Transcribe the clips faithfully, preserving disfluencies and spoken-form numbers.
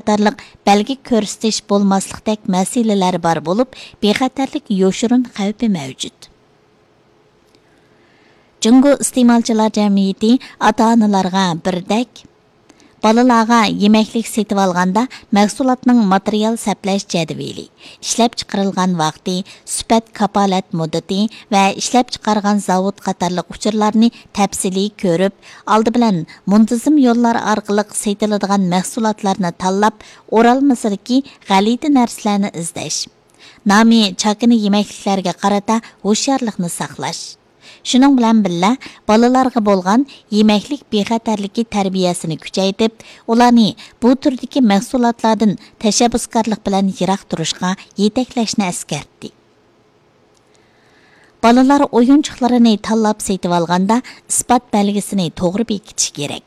قاتارلىق بەلگە كۆرسىتىش بولماسلىقتەك مەسىلىلەر بار بولۇپ، بىخەتەرلىك يوشۇرۇن خەۋپى مەۋجۇت. جۇڭگو ئىستېمالچىلار جەمئىيىتى ئاتا-ئانىلارغا بىردەك، بالىلارغا يېمەكلىك سېتىۋالغاندا مەھسۇلاتنىڭ ماتېرىيال سەپلەش جەدۋىلى، ئىشلەپچىقىرىلغان ۋاقتى، سۈپەت كاپالەت مۇددىتى ۋە ئىشلەپچىقارغان زاۋۇت قاتارلىق ئۇچۇرلارنى تەپسىلىي كۆرۈپ، ئالدى بىلەن مۇنتىزىم يوللار ئارقىلىق سېتىلىدىغان مەھسۇلاتلارنى تاللاپ، ئورالمىسىدىكى غەلىتە نەرسىلەرنى ئىزدەش، نامى چاكىنا يېمەكلىكلەرگە قارىتا ھوشيارلىقنى ساقلاش. شۇنىڭ بىلەن بىللە، بالىلارغا بولغان يېمەكلىك بىخەتەرلىكى تەربىيەسىنى كۈچەيتىپ، ئۇلارنى بۇ تۈردىكى مەھسۇلاتلاردىن تەشەببۇسكارلىق بىلەن يىراق تۇرۇشقا يېتەكلەشنى ئەسكەرتتى. بالىلار ئويۇنچۇقلىرىنى تاللاپ سېتىۋالغاندا ئىسپات بەلگىسىنى توغرا بېكىتىش كېرەك.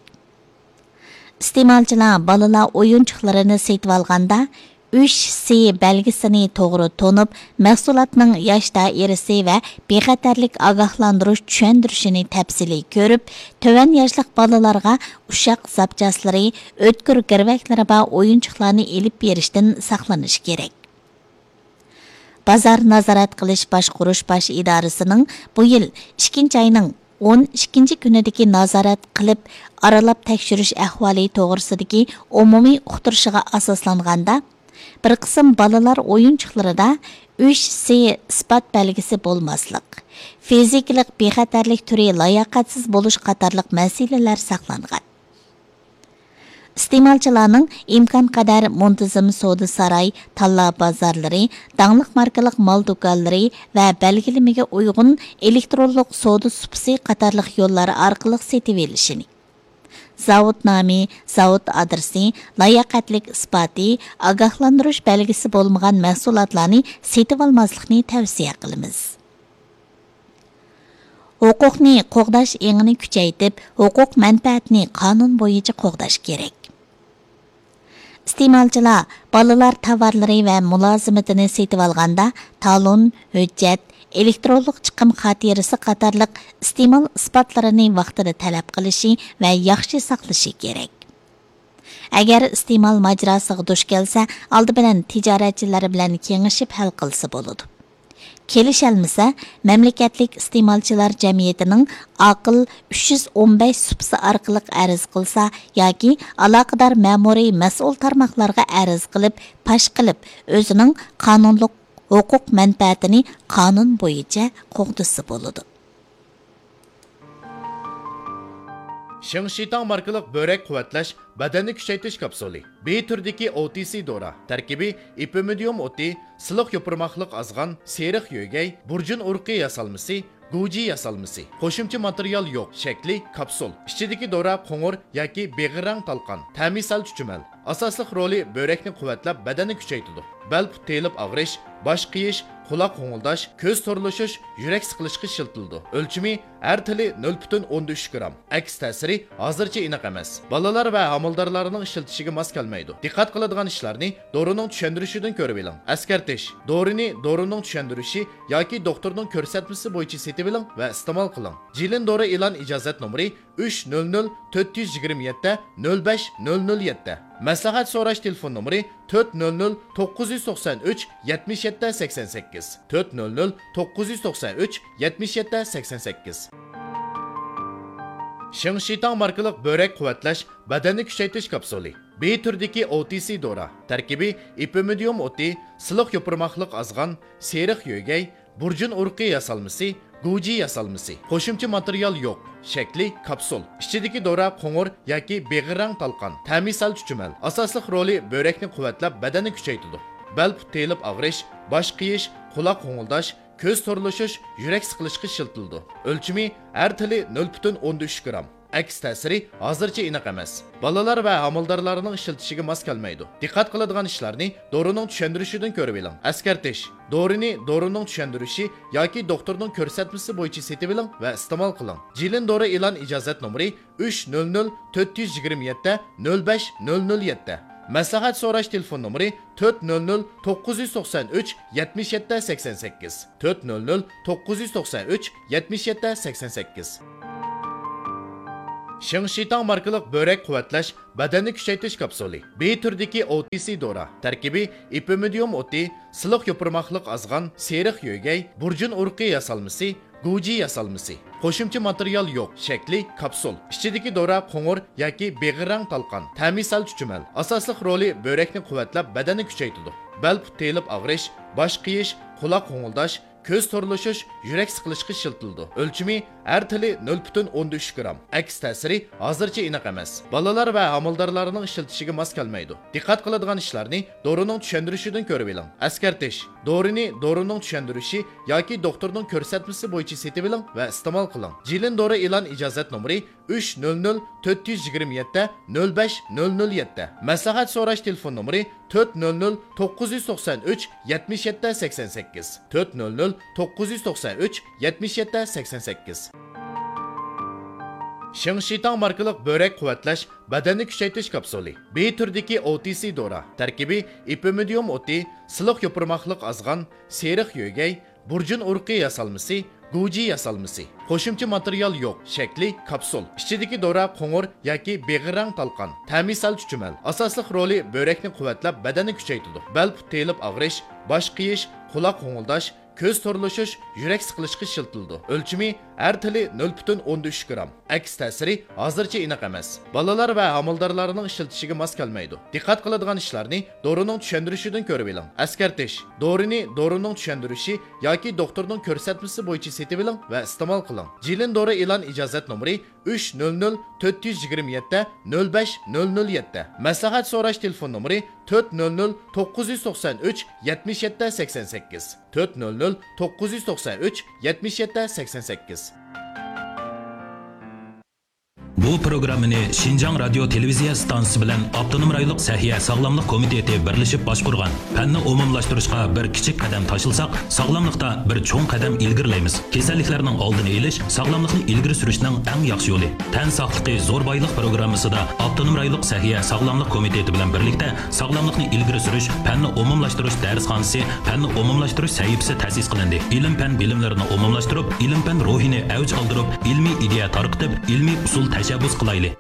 ئىستېمالچىلار بالىلار ئويۇنچۇقلىرىنى سېتىۋالغاندا، ئۈچ سى بەلگىسىنى توغرا تونۇپ، مەھسۇلاتنىڭ ياش دائىرىسى ۋە بىخەتەرلىك ئاگاھلاندۇرۇش چۈشەندۈرۈشىنى تەپسىلىي كۆرۈپ، تۆۋەن ياشلىق بالىلارغا ئۇششاق زاپچاسلىرى، ئۆتكۈر گىرۋەكلىرى بار ئويۇنچۇقلارنى ئېلىپ بېرىشتىن ساقلىنىش كېرەك. بازار نازارەت قىلىش باشقۇرۇش باش ئىدارىسىنىڭ بۇ يىل ئىككىنچى ئاينىڭ ئون ئىككىنچى كۈنىدىكى نازارەت قىلىپ ئارىلاپ تەكشۈرۈش ئەھۋالى توغرىسىدىكى ئومۇمىي ئۇقتۇرۇشىغا ئاساسلانغاندا، بىر قىسىم بالىلار ئويۇنچۇقلىرىدا ئۈچ سى ئىسپات بەلگىسى بولماسلىق، فىزىكىلىق بىخەتەرلىك تۈرى لاياقەتسىز بولۇش قاتارلىق مەسىلىلەر ساقلانغان. ئىستېمالچىلارنىڭ ئىمكانقەدەر مۇنتىزىم سودا ساراي، تاللا بازارلىرى، داڭلىق ماركىلىق مال دۇكانلىرى ۋە بەلگىلىمىگە ئۇيغۇن ئېلېكترونلۇق سودا سۇپىسى قاتارلىق يوللار ئارقىلىق سېتىۋېلىشىنى، زاۋۇت نامى، زاۋۇت ئادرېسى، لاياقەتلىك ئىسپاتى، ئاگاھلاندۇرۇش بەلگىسى بولمىغان مەھسۇلاتلارنى سېتىۋالماسلىقنى تەۋسىيە قىلىمىز. ھوقۇقنى قوغداش ئېڭىنى كۈچەيتىپ، ھوقۇق مەنپەئەتنى قانۇن بويىچە قوغداش كېرەك. ئىستېمالچىلار بالىلار تاۋارلىرى ۋە مۇلازىمىتىنى سېتىۋالغاندا تالون، ھۆججەت، ئېلېكترونلۇق چىقىم خاتىرىسى قاتارلىق ئىستېمال ئىسپاتلىرىنى ۋاقتىدا تەلەپ قىلىشى ۋە ياخشى ساقلىشى كېرەك. ئەگەر ئىستېمال ماجىراسىغا دۇچ كەلسە، ئالدى بىلەن تىجارەتچىلەر بىلەن كېڭىشىپ ھەل قىلسا بولىدۇ. كېلىشەلمىسە، مەملىكەتلىك ئىستېمالچىلار جەمئىيىتىنىڭ ئاقىل ئۈچ يۈز ئون بەش سۇپىسى ئارقىلىق ئەرز قىلسا ياكى ئالاقىدار مەمۇرىي مەسئۇل تارماقلارغا ئەرز قىلىپ، پاش قىلىپ، ئۆزىنىڭ قانۇنلۇق ھوقۇق مەنپەئەتىنى قانۇن بويىچە قوغدىسا بولىدۇ. شېڭشىتاڭ ماركىلىق بۆرەك قۇۋۋەتلەش بەدەننى كۈچەيتىش كاپسۇلى. بى تۈرىدىكى ئو تى سى دورا. تەركىبى ئېپىمىدىيۇم ئوتى، سىلىق يوپۇرماقلىق ئازغان، سېرىق يۆگەي، بۇرجۇن ئۇرۇقى ياسالمىسى، گۇجى ياسالمىسى. قوشۇمچە ماتېرىيال يوق. شەكلى كاپسۇل. ئىچىدىكى دورا قوڭۇر ياكى بېغىر رەڭ تالقان. تەمى سەل چۈچۈمەل. ئاساسلىق رولى بۆرەكنى قۇۋۋەتلەپ، بەدەننى كۈچەيتىدۇ. بەل پۇت تېيىلىپ ئاغرىش، باش قېيىش، قۇلاق غوڭۇلداش، كۆز تورلىشىش، يۈرەك سىقىلىشقا ئىشلىتىلىدۇ. ئۆلچىمى ھەر تىلى نۆل پۈتۈن ئوندىن ئۈچ گرام. ئەكس تەسىرى ھازىرچە ئېنىق ئەمەس. بالىلار ۋە ھامىلىدارلارنىڭ ئىشلىتىشىگە ماس كەلمەيدۇ. دىققەت قىلىدىغان ئىشلارنى دورىنىڭ چۈشەندۈرۈشىدىن كۆرۈۋېلىڭ. ئەسكەرتىش: دورىنى دورىنىڭ چۈشەندۈرۈشى ياكى دوختۇرنىڭ كۆرسەتمىسى بويىچە سېتىۋېلىڭ ۋە ئىستېمال قىلىڭ. جىلىن دورا ئېلان ئىجازەت نومۇرى ئۈچ نۆل نۆل تۆت يۈز يىگىرمە يەتتە نۆل بەش نۆل نۆل يەتتە. مەسلىھەت سوراش تېلېفون نومۇرى تۆت نۆل نۆل توققۇز يۈز توقسان ئۈچ يەتمىش يەتتە سەكسەن سەككىز، تۆت نۆل نۆل توققۇز يۈز توقسان ئۈچ يەتمىش يەتتە سەكسەن سەككىز. شېڭشىتاڭ ماركىلىق بۆرەك قۇۋۋەتلەش بەدەننى كۈچەيتىش كاپسۇلى. بى تۈرىدىكى ئو تى سى دورا. تەركىبى ئېپىمىدىيۇم ئوتى، سىلىق يوپۇرماقلىق ئازغان، سېرىق يۆگەي، بۇرجۇن ئۇرۇقى ياسالمىسى، گۇجى ياسالمىسى. قوشۇمچە ماتېرىيال يوق. شەكلى كاپسۇل. ئىچىدىكى دورا قوڭۇر ياكى بېغىر رەڭ تالقان. تەمى سەل چۈچۈمەل. ئاساسلىق رولى بۆرەكنى قۇۋۋەتلەپ، بەدەننى كۈچەيتىدۇ. بەل پۇت تېيىلىپ ئاغرىش، باش قېيىش، قۇلاق غوڭۇلداش، كۆز تورلىشىش، يۈرەك سىقىلىشقا ئىشلىتىلىدۇ. ئۆلچىمى ھەر تىلى نۆل پۈتۈن ئوندىن ئۈچ گرام. ئەكس تەسىرى ھازىرچە ئېنىق ئەمەس. بالىلار ۋە ھامىلىدارلارنىڭ ئىشلىتىشىگە ماس كەلمەيدۇ. دىققەت قىلىدىغان ئىشلارنى دورىنىڭ چۈشەندۈرۈشىدىن كۆرۈۋېلىڭ. ئەسكەرتىش: دورىنى دورىنىڭ چۈشەندۈرۈشى ياكى دوختۇرنىڭ كۆرسەتمىسى بويىچە سېتىۋېلىڭ ۋە ئىستېمال قىلىڭ. جىلىن دورا ئېلان ئىجازەت نومۇرى ئۈچ نۆل نۆل تۆت يۈز يىگىرمە يەتتە نۆل بەش نۆل نۆل يەتتە. مەسلىھەت سوراش تېلېفون نومۇرى تۆت نۆل نۆل توققۇز يۈز توقسان ئۈچ يەتمىش يەتتە سەكسەن سەككىز، تۆت نۆل نۆل توققۇز يۈز توقسان ئۈچ يەتمىش يەتتە سەكسەن سەككىز. شىڭ شىتاڭ ماركىلىق بۆرەك قۇۋۋەتلەش، بەدەننى كۈچەيتىش كاپسۇلى. بى تۈرىدىكى ئو تى سى دورا. تەركىبى ئېپىمىدىيۇم ئوتى، سىلىق يوپۇرماقلىق ئازغان، سېرىق يۆگەي، بۇرجۇن ئۇرۇقى ياسالمىسى، گۇجى ياسالمىسى. قوشۇمچە ماتېرىيال يوق، شەكلى كاپسۇل. ئىچىدىكى دورا قوڭۇر ياكى بېغىر رەڭ تالقان، تەمى سەل چۈچۈمەل. ئاساسلىق رولى بۆرەكنى قۇۋۋەتلەپ، بەدەننى كۈچەيتىدۇ. بەل پۇت تېيىلىپ ئاغرىش، باش قېيىش، قۇلاق غوڭۇلداش، كۆز تورلىشىش، يۈرەك سىقىلىشقا ئىشلىتىلىدۇ. ئۆلچىمى ھەر تىلى نۆل پۈتۈن ئوندىن ئۈچ گرام. ئەكس تەسىرى ھازىرچە ئېنىق ئەمەس. بالىلار ۋە ھامىلىدارلارنىڭ ئىشلىتىشىگە ماس كەلمەيدۇ. دىققەت قىلىدىغان ئىشلارنى دورىنىڭ چۈشەندۈرۈشىدىن كۆرۈۋېلىڭ. ئەسكەرتىش: دورىنى دورىنىڭ چۈشەندۈرۈشى ياكى دوختۇرنىڭ كۆرسەتمىسى بويىچە سېتىۋېلىڭ ۋە ئىستېمال قىلىڭ. جىلىن دورا ئېلان ئىجازەت نومۇرى ئۈچ نۆل نۆل تۆت يۈز يىگىرمە يەتتە نۆل بەش نۆل نۆل يەتتە. مەسلىھەت سوراش تېلېفون نومۇرى تۆت نۆل نۆل توققۇز يۈز توقسان ئۈچ يەتمىش يەتتە سەكسەن سەككىز، تۆت نۆل نۆل توققۇز يۈز توقسان ئۈچ يەتمىش يەتتە سەكسەن سەككىز. شىڭ شىتاڭ ماركىلىق بۆرەك قۇۋۋەتلەش، بەدەننى كۈچەيتىش كاپسۇلى. بى تۈرىدىكى ئو تى سى دورا. تەركىبى ئېپىمىدىيۇم ئوتى، سىلىق يوپۇرماقلىق ئازغان، سېرىق يۆگەي، بۇرجۇن ئۇرۇقى ياسالمىسى، گۇجى ياسالمىسى. قوشۇمچە ماتېرىيال يوق، شەكلى كاپسۇل. ئىچىدىكى دورا قوڭۇر ياكى بېغىر رەڭ تالقان، تەمى سەل چۈچۈمەل. ئاساسلىق رولى بۆرەكنى قۇۋۋەتلەپ، بەدەننى كۈچەيتىدۇ. بەل پۇت تېيىلىپ ئاغرىش، باش قېيىش، قۇلاق غوڭۇلداش، كۆز تورلىشىش، يۈرەك سىقىلىشقا ئىشلىتىلىدۇ. ئۆلچىمى ھەر تىلى نۆل پۈتۈن ئوندىن ئۈچ گرام. ئەكس تەسىرى ھازىرچە ئېنىق ئەمەس. بالىلار ۋە ھامىلىدارلارنىڭ ئىشلىتىشىگە ماس كەلمەيدۇ. دىققەت قىلىدىغان ئىشلارنى دورىنىڭ چۈشەندۈرۈشىدىن كۆرۈۋېلىڭ. ئەسكەرتىش: دورىنى دورىنىڭ چۈشەندۈرۈشى ياكى دوختۇرنىڭ كۆرسەتمىسى بويىچە سېتىۋېلىڭ ۋە ئىستېمال قىلىڭ. جىلىن دورا ئېلان ئىجازەت نومۇرى ئۈچ نۆل نۆل تۆت يۈز يىگىرمە يەتتە نۆل بەش نۆل نۆل يەتتە. مەسلىھەت سوراش تېلېفون نومۇرى تۆت نۆل نۆل توققۇز يۈز توقسان ئۈچ يەتمىش يەتتە سەكسەن سەككىز، تۆت نۆل نۆل توققۇز يۈز توقسان ئۈچ يەتمىش يەتتە سەكسەن سەككىز. بۇ پروگراممىنى شىنجاڭ رادىيو تېلېۋىزىيە ئىستانسىسى بىلەن ئاپتونوم رايونلۇق سەھىيە ساغلاملىق كومىتېتى بىرلىشىپ باشقۇرغان. پەننى ئومۇملاشتۇرۇشقا بىر كىچىك قەدەم تاشلىساق، ساغلاملىقتا بىر چوڭ قەدەم ئىلگىرىلەيمىز. كېسەللىكلەرنىڭ ئالدىنى ئېلىش، ساغلاملىقنى ئىلگىرى سۈرۈشنىڭ ئەڭ ياخشى يولى. تەن ساقلىقى زور بايلىق پروگراممىسىدا ئاپتونوم رايونلۇق سەھىيە ساغلاملىق كومىتېتى بىلەن بىرلىكتە ساغلاملىقنى ئىلگىرى سۈرۈش، پەننى ئومۇملاشتۇرۇش دەرسخانىسى، پەننى ئومۇملاشتۇرۇش سەھىپىسى تەسىس قىلىندى. ئىلىم-پەن بىلىملىرىنى ئومۇملاشتۇرۇپ، ئىلىم-پەن روھىنى ئەۋج ئالدۇرۇپ، ئىلمىي ئىدىيە تارقىتىپ، ئىلمىي ئۇسۇل تەشەببۇس قىلايلى.